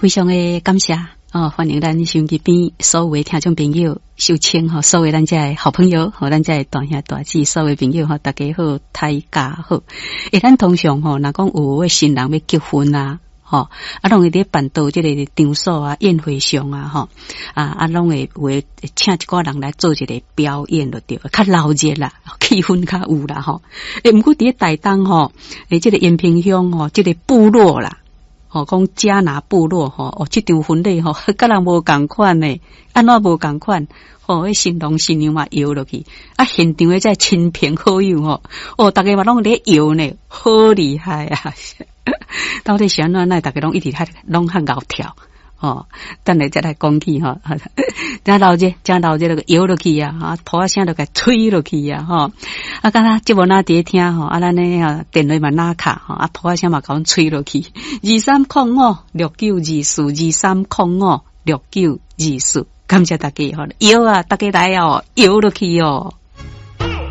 非常的感謝哦，歡迎咱收音機邊所有的聽眾朋友，收聽吼，所有咱遮的好朋友，吼，咱遮的大兄大姊，所有朋友吼，大家好，大家好。欸，咱通常吼，若講有的新人欲結婚啊，吼，啊，攏會佇辦桌這個場所啊，宴會上啊，吼，啊，攏會有會請一寡人來做一個表演就對，較鬧熱啦，氣氛較有啦，吼。欸，毋過佇咧台東吼，欸，這個延平鄉吼，這個部落啦。吼，講迦拿部落吼，哦，這場婚禮吼，佮人無仝款呢，按怎無仝款？吼，彼新郎新娘嘛搖落去，啊，現場的這親朋好友吼，哦，逐家嘛攏咧搖呢，好厲害啊！到底是按怎？哪會逐家攏一直較攏較𠢕跳？吼，等下再來講起吼，真鬧熱，真鬧熱，那個搖落去啊，啊，塗仔聲就共吹落去啊，吼，啊，敢若節目若佇咧聽吼，啊，咱呢啊電話嘛拿卡吼，啊，塗仔聲嘛共阮吹落去，23056924，23056924，感謝大家吼，搖啊，大家來哦，搖落去哦。